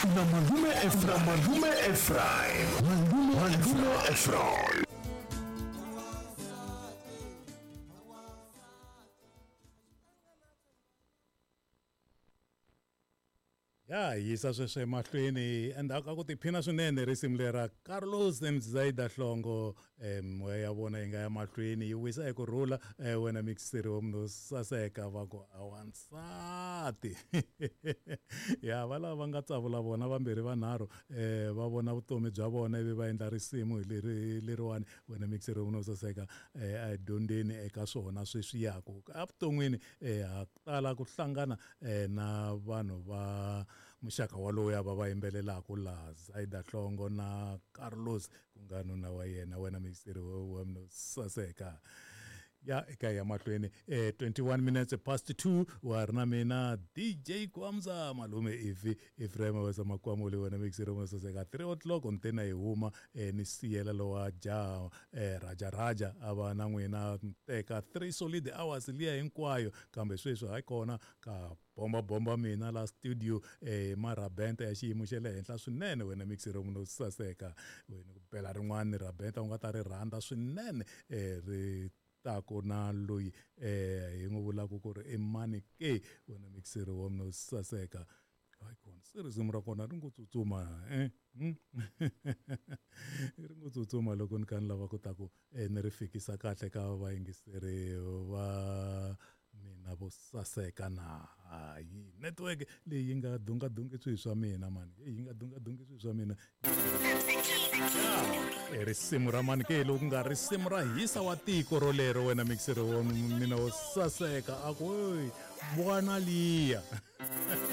Na malume Efraim. Malume Efraim. Malume, Malume Efraim. Ya yisa sweswo emahlweni endzhaku ka ku tiphina swinene risimu lera Carlos Mzaida Hlongo moya ya vona yi nga ya mahlweni yi wisa eku rhula wena mixeri wa munhu saseka va ku a wansati ya va lava va nga tsavula vona vambirhi vanharhu va vona vutomi bya vona ivi va endla risimu hi leri leriwani wena mixeri wa munhu saseka a hi dyondzeni eka swona sweswi ku evuton'wini ha tala ku hlangana na vanhu va muxaka walowu va va yimbelelaka laha Zaida Hlongo na Carlos ku nga nuna wa yena wena mixeri wa munhu saseka ya eka ya mahlweni 21 minutes past 2 wa ri na mina DJ Kwamza malume ivi Ephraim wesa makwamuli wena mixeri wa saseka 3 o'clock ntena hi huma ni siyela lowa jaha Raja Raja a va na n'wina teka 3 solid hours liya hinkwayo kambe sweswi hayi kona ka bomba bomba mina la studio marabenta ya xiyimo xa le henhla swinene wena mixeri munhu saseka wena ku bela rin'wana rabenta u nga ta ri rhandza swinene ri taku na loyi hi n'wi vulaka ku ri i mani ke wena mixeri wa munhu saseka hayi kona se risimu ra kona ri ngo tsutsuma ri ngo tsutsuma loko ni kha ni lava ku ta ku ni ri fikisa kahle ka vayingiseri va mina vo saseka na hayi network leyi yi nga dungadungi swilo swa mina mani yi nga dungadungi swilo swa mina risimu ra mani ke loku nga risimu ra hisa wa tiko rolero wena mixeri wa mina wo saseka a ku bwana liya.